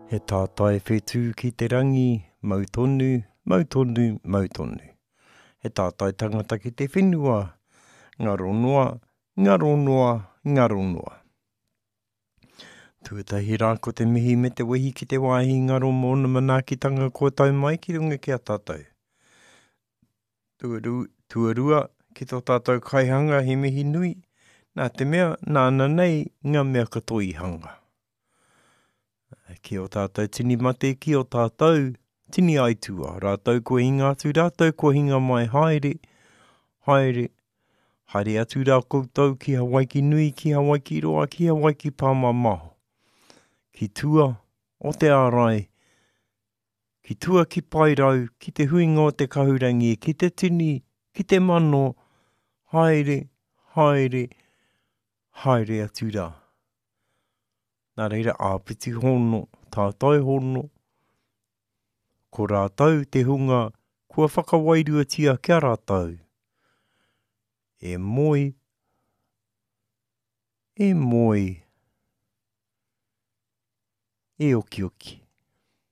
He tātai whetū ki te rangi, mau tonu, mau tonu, mau tonu. He tātai tangata ki te whenua, ngaro noa, ngaro noa, ngaro noa. Tuatahi rā ko te mihi me te wehi ki te wāhi ngaro mō ōna manaakitanga kua tau mai ki runga ki a tātou. Tuarua, ki tō tātou kaihanga he mihi nui, nā te mea nāna nei ngā mea katoa i hanga. Ki ō tātou tini mate, ki ō tātou tini aituā, rātou kua hinga atu, rātou kua hinga mai, haere, haere, haere atu rā koutou ki Hawaiki nui, ki Hawaiki roa, ki Hawaiki pāmamao, ki tua o te ārai, Ki tua ki Paerau, ki te huinga o te kahurangi, ki te tini, ki te mano, haere, haere, haere atu rā. Nā reira, āpiti hono, tātai hono, ko rātou te hunga kua whakawairuatia ki a rātou. E moe, e moe, e okioki.